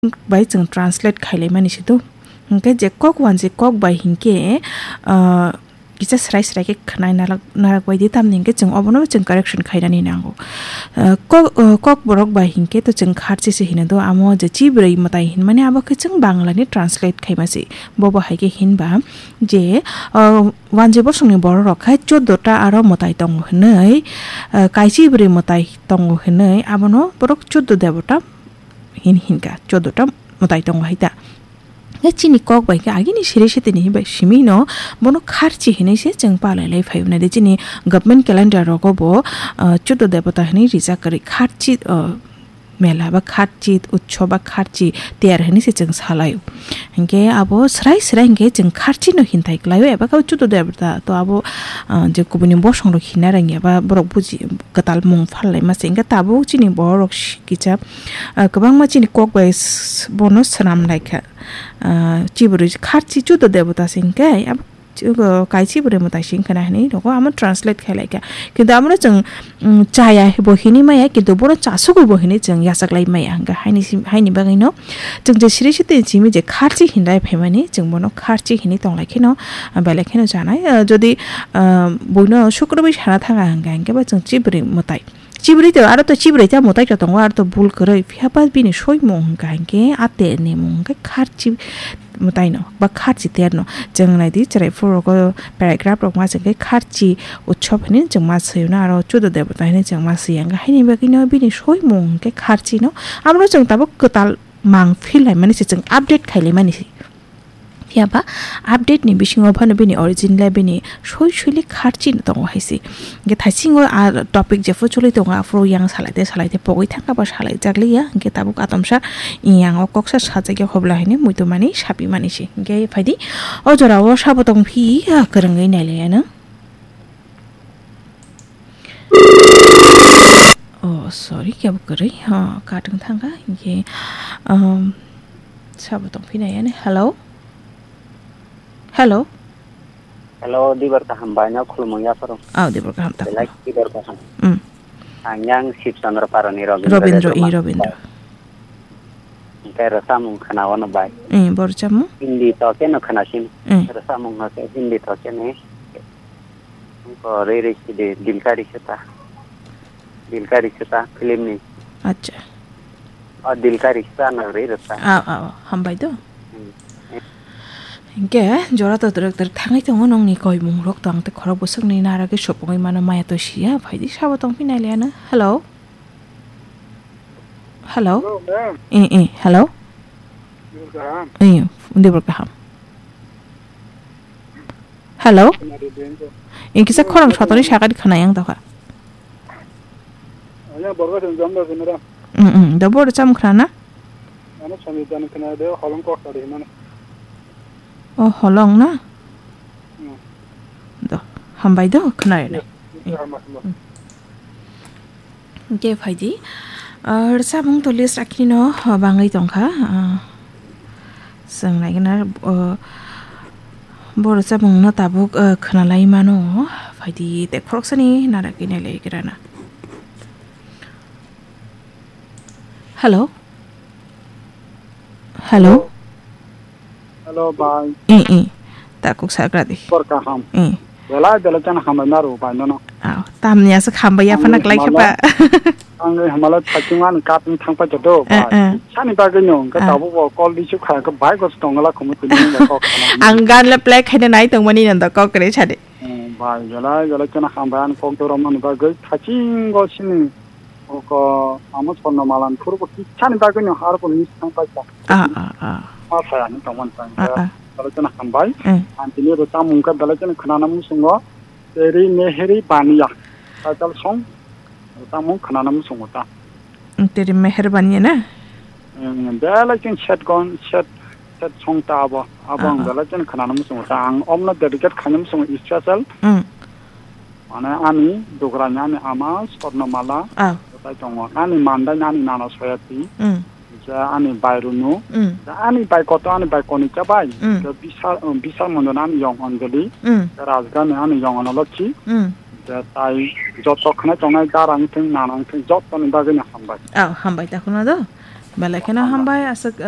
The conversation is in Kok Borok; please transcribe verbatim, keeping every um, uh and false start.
bai chwng translate khailaimani se do. Hinkhe je kok wanjwi kok bai hinkhe, ah, kisa srai srai khe khwnai narak, narak bai di, tamni hinkhe chwng obono chwng correction khainani nango. Ah, kok, ah, kokborok bai hinkhe to chwng kharchi se hino do, amo je chibrwi mwtai hinmani abo khe chwng Banglani translate khaima se. Bobo hai khe hinba je, ah, wanjwi bosongni bororok khai choddo ta aro mwtai tongo hinwi, ah, kaichibrwi mwtai tongo hinwi abono borok choddo debota hin hinka, choddo ta mwtai tongo hai ta. Khe chini kok bai khe agini siri sitini bai simi no bono kharchi hinwi se chwng palai lai phai mani de. Chini government calendar rogo bo, ah, choddo debota hinwi rijak kwrwi kharchi, ah, mela ba kharchi utsob ba kharchi tiyar hinwi se chwng salai. Hinkhe abo srai srai hinkhe chwng kharchi no hinthai kwlaio eba khe choddo debota to abo, ah, je kubuni bosong rok hinna rang ya ba borok buji kwtal mung phalai ma se hinkhe tabuk chini borok kisa, ah, kwbangma chini kok bai s-, bono swnam lai kha. Ah, chibrwi kharchi choddo debota se hinkhe abo, kaisi bwrwi mwtai sing khwna hinwi rogo amo translate khai lai kha. Kintu amo no chwng, mm, chaya bo hinwi maya, kintu bono chasugwi bo hinwi chwng yachak lai maya. Hwnkhe haini sim-, haini bagwi no chwng je siri sitini simi je kharchi hinlai phaimani, chwng bono kharchi hinwi tong lai kheno, ah, belai kheno chanai. Ah, jodi, ah, buino sukrubwi sana thanga hwnkha, hwnkhe bo chwng chibrwi mwtai. Chibrwi to, aro to chibrwi ta mwtai to tongo, aro to bul kwrwi. Phiya ba bini soimung hwnkha hinkhe a te ni mung hwnkhe kharchi mwtai no, ba kharchi ter no. Chwng nai di, chwrai phuru rogo paragraph rok ma se khe kharchi utsob hinwi chwng ma swi no, aro choddo debota hinwi chwng ma swi ya. Hwnkhe haini bagwi no bini soimung hwnkhe kharchi no. Amo no chwng tabuk kwtal mang feel lai mani se, chwng update khai lai mani se. Phiya ba update ni bisingo phano bini origin le bini soi soi le kharchi no tongo hai se. Hwnkhe thaisingo a topic jephuru choli tongo, aphuru yang salai te salai te pogwi thangkha ba salai jak liya. Hwnkhe tabuk atomsa yang o koksa sajak ya hobla hinwi muitu mani sapi mani se. Hwnkhe phaidi o jora o sabo tong phi, ah, kwrwngwi nai le ano. Oh, sorry, kebo kwrwi. Ha, cut wng thangkha. Hinkhe, um, sabo tongphina yani. Hello? Hello? Hello, Dibar kaham bai no khulumung yapharo. Oh, Dibar kaham ta. Belai Dibar kaham. Mm. Ang yang Sib Chandra Parani Robindra Robindra, Debbarma. I Robindra. Hwnkhe rwchapmung khwna-o no bai. Eh, bo rwchapmung? Hindi to khe no khwnasin. Eh. Rwchapmung no khe Hindi to khe ni. Ko rei rei sidi Dil Ka Rishta. Dil Ka Rishta film ni. Acha. O Dil Ka Rishta no rei rwchap. Ah, ah, ah, hambai do. Hmm. Hinkhe jora to twrwk twrwk thangwi tongo nongni koimung rok to ang tei khorok bwswkni nara khe sopogwi mano maya to siya phaidi sabo tongphi nai le ano. Hello. Hello? Hello, ma'am. Eh, eh, hello? Dibor kaham. Eh, dibor kaham. Hello? Khwnadi, dibor. Eh, kisa khorang sotori sakadi khwnai ang tokha. Anya borok song jom da sinara. Mm, mm, da bor cham khna na? Ano sami jan khna de holong kok tadi mana. Oh, holong na? Hmm. Do, hambai do, khna ya. Yes, yes, hambai, hambai. Mm. Hwnkhe phaidi, ah, rwchapmung to list rakhino, ah, bangwi tongkha, ah, chwng naigwna, ah, bo rwchapmungno tabuk, ah, khwnalai mano, phaidi tei khoroksani narakwi nailaigrana. Hello? Hello? Hello, bai. Eh, eh. Takuk sakra di. Kor kaham. Eh. Belai belai chana hambai naru bai nono. Aw, tamni aswk hambai ya phana klai khapa. Ang hamala thaching man kat ni thang pa jodo, eh, bai. Eh. Sani bagwi no, ka, eh, tabu bo call di sukha, ka bai gos tongla khumu tini ba kok khana. Ang gan le play khaina nai tongmani nanda kok re sadi. Hmm, bai, belai belai chana hambai an kok dorom man bagwi thaching go sini. Oko amo sorno malan phuru bo kisa ni bagwi no har bo miss thang paisa. Ah, ah, ah. Ma saya ni tongmani tang. Ah, ah. Talo chana hambai. Eh. Ang tini ro chamung ka talo chana khana na musungo. Teri meheri baniya. Title song. Chamung khana na musungo ta. Teri meheri baniya na? Hmm, belai ching set gon, set, set song ta abo. Abo ang, ah, ah, belai ching khana na musungo ta. Ang omno dedicate khana musungo special. Hmm. Mane ani dugrani ani ama Swarnamala. Ah. Kotai tongo. Ani mandai ani nana Soyati. Mm. Je ani bai Runu. Mm. Je ani bai koto ani bai Konika bai. Mm. Je bisa, um, bisa mondon ani yong Anjali. Mm. Je Rajgani ani yong Analochi. Mm. Je tai joto khna tongnai darang thing nanang thing joto ni bagwi ni hambai. Ah, hambai ta khuna do. Belai kheno hambai aswk,